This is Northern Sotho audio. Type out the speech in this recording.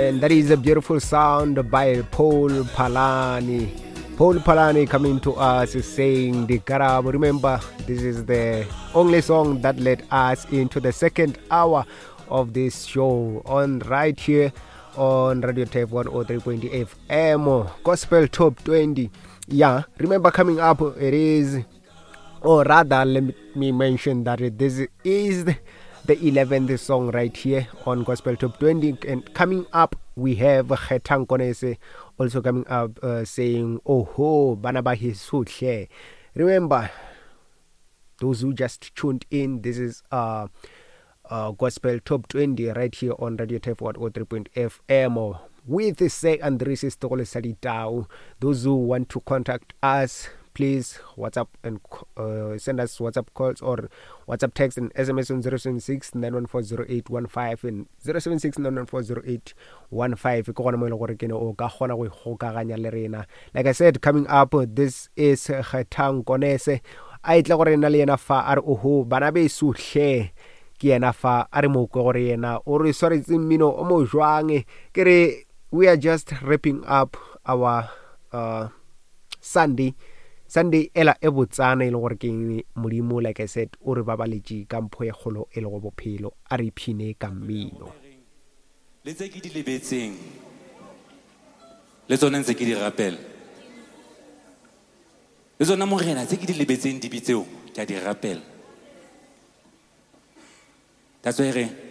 And that is a beautiful sound by Paul Palani. Paul Palani coming to us saying the Garab. Remember, this is the only song that led us into the second hour of this show on right here on Radio Tape 103.8 FM Gospel Top 20. Yeah, remember coming up it is or rather let me mention that this is the 11th song right here on Gospel Top 20 and coming up we have Kgethang Konese also coming up uh, saying oh ho bana ba heso hle remember those who just tuned in this is uh, uh, Gospel Top 20 right here on Radio Tef 103.fm with Sir Andries Setogolo sa Ditau. Those who want to contact us, please WhatsApp and uh, send us WhatsApp calls or WhatsApp text and SMS on 076 914 and 076 914 ke gona mo e le gore ke ne o ka kgona go ikgokaganya le rena. Like I said, coming up, this is Kgethang Konese. A etle gore nna le yena fa a re oho bana beso hle ke yena fa a re mo kwe gore yena o re swaretse mmino o mo jwang ke re we are just wrapping up our uh, sunday sunday ela e botsana e le gore ke modimo like i said o re babaletše ka mpho e kgolo e lego bophelo a re iphine ka mmino le tse ke di lebetseng le tsone ntse ke di rapela le tsona morena tse ke di lebetseng dibi tseo ke a di rapela that's why re